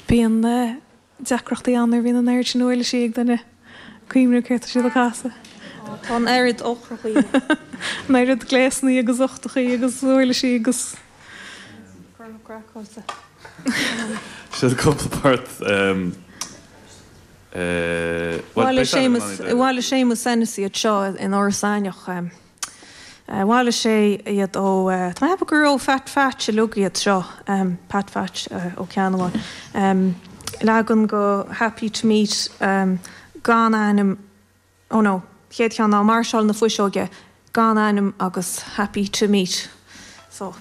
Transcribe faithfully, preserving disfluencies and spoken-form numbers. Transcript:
Bíonn deacrachtaí ann nuair a bhíonn an oiread sin uirlisí ag duine cuimhneamh céard tá siad ag casadh. Tá an oiread eochrachaí. An oiread gléasanna agus uchtachaí agus uirlisí agus. Craiceáilte. Sin cúpla port. Bhailigh Séamus, bhailigh Séamus Hennessy iad seo in Iorras Aithneach. Bhailigh sé iad ó, tá mé ag ceapadh gur ó Phat Phatch uilig iad seo, Pat Phatch Ó Ceannabháin. Leagan de Happy to Meet gan ainm, oh no, chéad cheann ná Máirseáil na Fuiseoige gan ainm agus Happy to Meet. So.